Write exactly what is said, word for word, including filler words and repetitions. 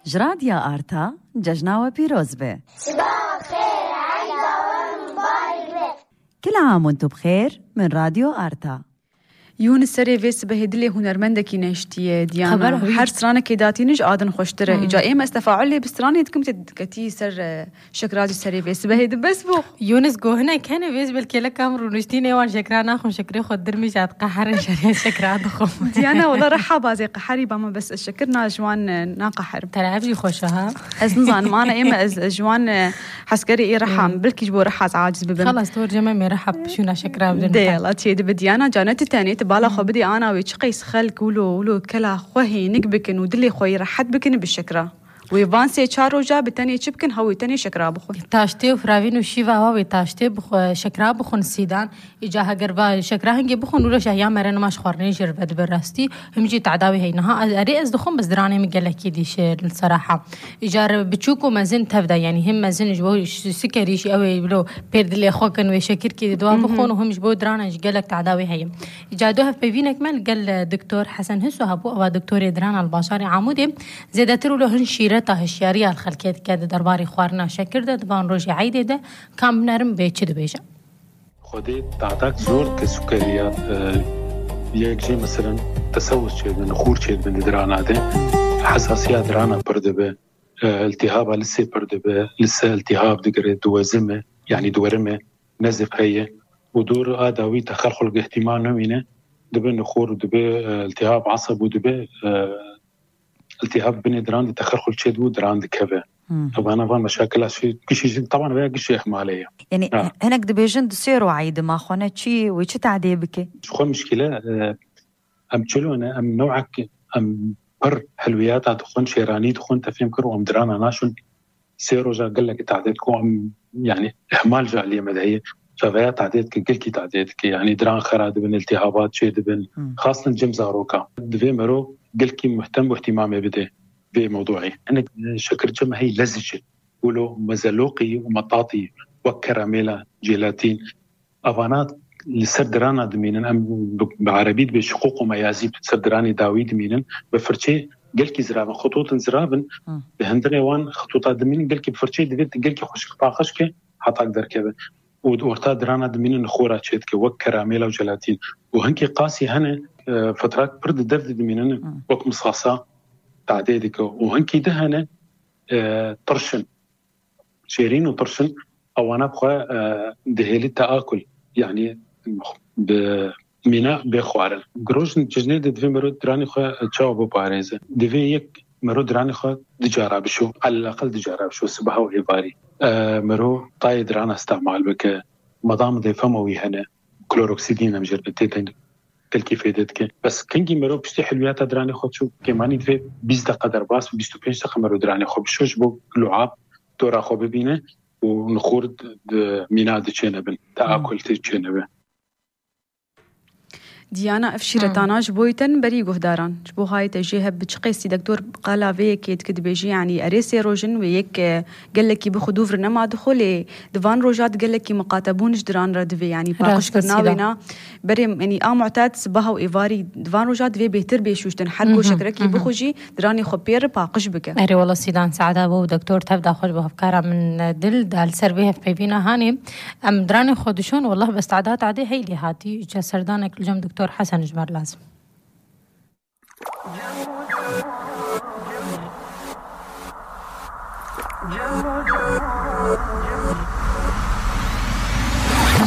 Ji Radya Arta, cejna we pîroz be. Siba xêr, eyda we mubarek be. Kil am û tu bi xêr, min Radyo Arta. Yûnis serê vê sibehê dilê hunermendekî neştiye, Diyana. Xeber wî. Her stranekê datînin ji adin xweştir e. Hmm. Îca ê me ez tefaulê bi stranê dikim, te ketî ser, e, şikra jî serê vê sibehê di bes bû. Yûnis got, hinek hene vê ji bil kêleka min rûniştî nê wan şekra naxwin, şekrê xwe dirmî jî diqeherin, şerê şekra dixwin. Diyana, wela reha bazê qeherî ba me, bes ez şekir na ji wan, e, naqeherim. Te ev jî xweş e, ha? Ez nizanim, ana ê me ez, ez ji wan, e, heskerê ê reha, Hmm. bilkî ji bo reha ez aciz bibim. Xelas, tu cem em ê reha bişûna şekra bidin. Dê, yala, çê dibe Diyana, ca ne tu tenê, tu bala xwe Hmm. bidê ana wê çi qeys xelk wilo, wilo kela xwe hênik bikin û dilê xwe yê rehet bikin bi şekra. Wê van sê çar roja bi tenê çi bikin, ha wê tenê şekra bixwin. Taştê û firavîn û şîva wa wê taştê bixwe, şekra bixwin sîdan. Îca heger va şekra hingê bixwin, wilo şehiya mere nima ji xwarinê jê re vedibe rastî. Him jî tadawî heye. Niha ez, erê ez dixwim, bes diranê min gelekî dîşe, li seraha. Îcar biçûk û mezin tev de, yanî him mezin ji bo ş-, sikerî jî ew ê wilo pêr dilê xwe kin wê şekirkî di dua Mhm. bixwin û him ji bo dirana jî gelek tadawî heye. Îca do hevpeyvînek me li gel, e, Doktor Hesen Hiso hebû, ew a doktorê dirana li bajarê Amûdê. Zêdetir wilo hin şîreta hişyariya li xelkê dike di derbarê xwarina şekir de, di van rojê eydê de, kam binerin bê çi dibêje. Xwedê tadak zor dike sukeriya, e, yek jê meselen tesewus çêdibin, xûr çêdibin di dirana de. Hesasiya dirana pir dibe, e, iltihaba lisê pir dibe, lise iltihab digire, diwezime, yanî diwerime, nezif heye. Û dor a dawî texelxul ihtimal nemîne, dibe nixor û dibe, e, iltihab asab û dibe, e, iltihab binê diran de texelxul çêdibû, diran dikeve. Hmm. Tabana van meşakila şî, gişî jî, taban veya gişî ihmalê ye. Yanî Ha. hinek dibêjin di sê royî dima xwe ne çi wê çi tadê bike? Ji xwe mişkile, e, em çilo ne, em newek, em pir helwiyata dixwin, şêranî dixwin, te fêm kir û em dirana naşin. Sê roja gelekî tadê dike û em, yanî ihmal ji aliyê me de heye. Çaveya tadê dike, gelkî tadê dike. Yanî diran xera dibin, iltihabat çê dibin. Hmm. Xastin cem zaroka. Divê mero gelkî muhtem û ihtimamê bide vê mewduî. Hinek, e, şekirçe me hey lezî çi. Wilo mezeloqî û metatî wek keramêla, jelatîn. Evana li ser dirana dimînin, em bi, bi erebî dibê şiqûq û meyazî, ser diranê dawî dimînin, bi firçê gelkî ziravin, xitûtin ziravin, Hmm. bi hindirê wan xitûta dimînin, gelkî bi firçê divê gelkî xweşik paqij ke, hetak derkeve. Û di orta dirana dimînin xora çêdike, wek keramêla û jelatîn. Û hinkî qasî hene, e, fetrak pir di dev de dimînin, Hmm. wek misasa tadê dike. Û hinkî di hene, e, tirş in. Şêrîn û tirş in, ewana bi xwe, e, dihêlî teakul, yanî bi mîna bê xwarin. Girojin cejnê de divê mero diranê xwe çawa biparêze? Divê yek mero diranê xwe du cara bişo, elaqel du cara bişo, sibeha û êvarî. E, mero tayê dirana îstemal bike, madam dê fema wî hene, kloroksîdîn em jê re tê de telkîfê dê dike. Bes kengî mero piştî hilwiyata diranê xwe çû kêmanî divê bîst deqa derbas, bîst û pênc deqa mero diranê xwe bişo ji bo luab tora xwe bibîne û nixor di, di mîna de çênebin, teakul tê çênebe. Diyana, ev şîretana ji bo te ne berî guhdaran. Ji bo hayê te jê heb bi çi qeysî dektor qala vê yekê dike dibêjî, yanî erê sê roj in wê yek, e, gelekî bi xwe dûv re nema dixwe, lê di van roja di gelekî miqatebûn ji diran re divê, yanî Rast paqijkirina e, Sîla. wêna berê, yanî a mu'ted sibeha û êvarî di van roja divê bêhtir bê şûştin. Her ku Mhm, şekrekî mhm. bixwe jî diranê xwe pê re paqij bike. Erê wela Sîlan, seada bo û doktor tev da xwe ji bo hevkara min dil da li ser vê hevpeyvîna hanê. Em diranê xwe dişon, wellah bes tada tadê heylê hatî. Îca serdanek li cem doktor Hesen ji me re lazim.